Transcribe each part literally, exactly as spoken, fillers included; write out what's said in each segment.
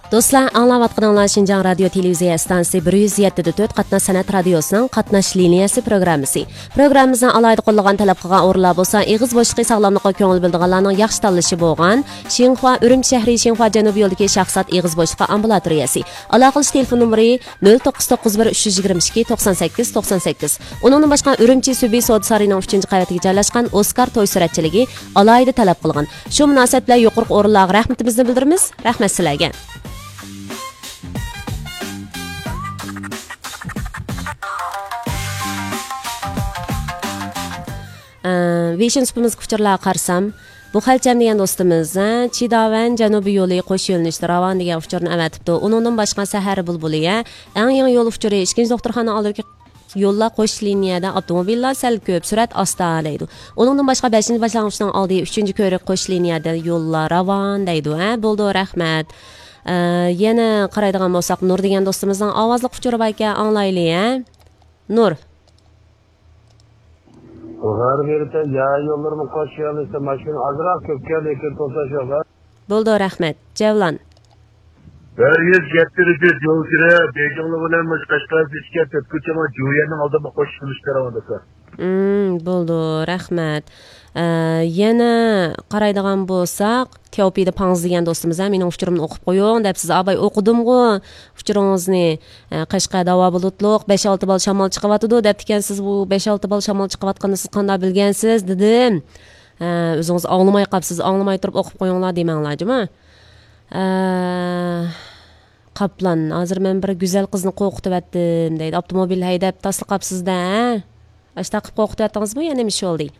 دوستلار، ئاڭلاۋاتقىنىڭلار شىنجاڭ رادىيو تېلېۋىزىيە ئىستانسىسى بىر يۈز يەتتە دە تۆت قاتناش سەنئەت رادىيوسىنىڭ قاتناش لىنىيەسى پروگراممىسى. پروگراممىمىزنىڭ ئالاھىدە قوللىغان، تەلەپ قىلغان ئورۇنلار بولسا ئېغىز بوشلۇقى ساغلاملىقىغا كۆڭۈل بۆلىدىغانلارنىڭ ياخشى تاللىشى بولغان شىنخۇا ئۈرۈمچى شەھىرى شىنخۇا جەنۇبىي يولىدىكى شاھزات ئېغىز بوشلۇقى ئامبۇلاتورىيەسى. ئالاقىلىشىش تېلېفون نومۇرى نۆل توققۇز توققۇز بىر ئۈچ يۈز يىگىرمە ئىككى توقسان سەككىز توقسان سەككىز. ئۇنىڭدىن باشقا، ئۈرۈمچى سۈبى سودا سارىيىنىڭ ئۈچىنچى قەۋىتىگە جايلاشقان ئوسكار توي سۈرەتچىلىكى ئالاھىدە تەلەپ قىلغان. شۇ مۇناسىۋەت بىلەن يۇقىرىقى ئورۇنلارغا رەھمىتىمىزنى بىلدۈرىمىز. رەھمەت سىلەرگە. ئە، ۋېيشىن سۇپىمىزدىكى ئۇچۇرلارغا قارىسام، بۇ خەلچەم دېگەن دوستىمىز، ھە، چىداۋەن جەنۇبىي يولى قوش يۆنىلىشتە راۋان دېگەن ئۇچۇرنى ئەۋەتىپتۇ. ئۇنىڭدىن باشقا، سەھەر بۇلبۇلى، ھە، ئەڭ يېڭى يول ئۇچۇرى، ئىككىنچى دوختۇرخانا ئالدىدىكى يوللار قوش لىنىيەدە، ئاپتوموبىللار سەل كۆپ، سۈرئەت ئاستا دەيدۇ. ئۇنىڭدىن باشقا، بەشىنچى باشلانغۇچنىڭ ئالدى، ئۈچىنچى كۆۋرۈك قوش لىنىيەدە يوللار راۋان دەيدۇ. ھە، بولىدۇ، رەھمەت. ئە، يەنە قارايدىغان بولساق، نۇر دېگەن دوستىمىزنىڭ ئاۋازلىق ئۇچۇرى باركەن، ئاڭلايلى، ھە. نۇر. غەربىي يا يوللىرىمۇ قوش يۆنىلىشتە ماشىنا ئازراق كۆپكەن، لېكىن توساش يوق. بولدى، رەھمەت. جەۋلان. بىر يۈز يەتتە يول كىرە، بېيجىڭلار بىلەن مۇشۇ قەشقەر ئۆتكەن تۆت كوچىمۇ جۇيەننىڭ ئالدىدا قوشۇلۇش كىرىۋاتىدۇ. مم، بولدى، رەھمەت. ئە، يەنە قارايدىغان بولساق، تياۋپىدا پاڭزى دېگەن دوستىمىز ھەم مېنىڭ ئۇچۇرۇمنى ئوقۇپ قويۇڭ دەپ، سىز ئاباي ئوقۇدۇمغۇ ئۇچۇرىڭىزنى. ئە، قەشقەر داۋا بۇلۇتلۇق، بەش-ئالتە بال شامال چىقىۋاتىدۇ دەپتىكەنسىز، بۇ بەش-ئالتە بال شامال چىقىۋاتقىنىنى سىز قانداق بىلگەنسىز دېدىم. ئە، ئۆزىڭىز ئاڭلىماي قاپسىز، ئاڭلىماي تۇرۇپ ئوقۇپ قويۇڭلار دېمەڭلار جۇمۇ. ئە، قاپلان، ھازىر مەن بىر گۈزەل قىزنى قورقۇتۇۋەتتىم دەيدۇ، ئاپتوموبىل ھەيدەپ تاسلىقاپسىز-دە، ھە؟ ئاشتا قىلىپ قورقۇتۇۋەتتىڭىزمۇ يا نېمە ئىش بولدى؟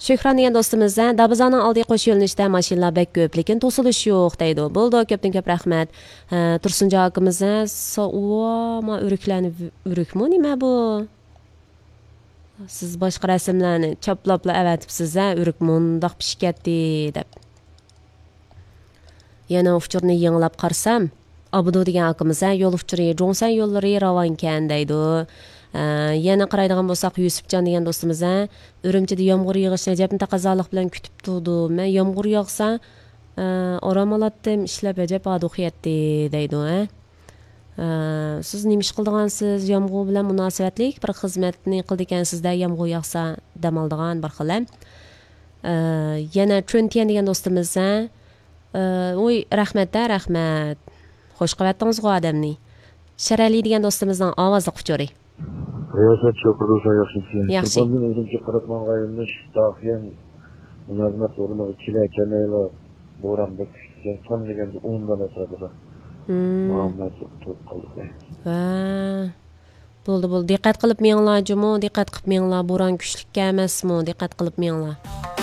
شۆھران دېگەن دوستىمىز، ھە، دابىزانىڭ ئالدى قوش يۆنىلىشتە ماشىنىلار بەك كۆپ، لېكىن توسۇلۇش يوق دەيدۇ. بولىدۇ، كۆپتىن كۆپ رەھمەت. ھە، تۇرسۇنجان ئاكىمىز، ھە، سا-، ئۇۋا، ما ئۆرۈكلەرنى، ئۆرۈكمۇ نېمە بۇ؟ سىز باشقا رەسىملەرنى چاپلاپلا ئەۋەتىپسىز، ھە، ئۆرۈك مۇنداق پىشىپ كەتتى دەپ. يەنە ئۇچۇرنى يېڭىلاپ قارىسام، ئابدۇ دېگەن ئاكىمىز، ھە، يول ئۇچۇرى، جۇڭسەن يوللىرى راۋانكەن دەيدۇ. ئە، يەنە قارايدىغان بولساق، يۈسۈپجان دېگەن دوستىمىز، ھە، ئۈرۈمچىدە يامغۇر يېغىشنى ئەجەبمۇ تەقەززالىق بىلەن كۈتۈپ تۇردۇم. مەن يامغۇر ياغسا، ئە، ئارام ئالاتتىم، ئىشلەپ ئەجەب ھادۇقى يەتتى دەيدۇ، ھە. ئە، سىز نېمە ئىش قىلىدىغانسىز؟ يامغۇر بىلەن مۇناسىۋەتلىك بىر خىزمەتنى قىلىدىكەنسىز-دە، يامغۇر ياغسا دەم ئالىدىغان بىر خىل، ھە. ئە، يەنە چۈنتيەن دېگەن دوستىمىز، ھە. ئە، ئۇي، رەھمەت-دە، رەھمەت. خوش قىلىۋەتتىڭىزغۇ ئادەمنى. شەرەلى دېگەن دوستىمىزنىڭ ئاۋازلىق ئۇچۇرى. رىياسەت، شوپۇر دوستلار ياخشىمىسىلەر؟ ياخشى. تۇرپاندىن ئۈرۈمچىگە قاراپ ماڭغان يۆنىلىش داخىيەن مۇلازىمەت ئورنىغا كېلەركەن، بوران بەك كۈچلۈككەن، كەم دېگەندە ئون مىليون ئەتراپىدا. مم. مۇلازىمەت تۇرۇپ قالدۇق. ۋە. بولدى، بولدى. دىققەت قىلىپ مېڭىڭلار جۇمۇ، دىققەت قىلىپ مېڭىڭلار. بوران كۈچلۈككەن ئەمەسمۇ، دىققەت قىلىپ مېڭىڭلار.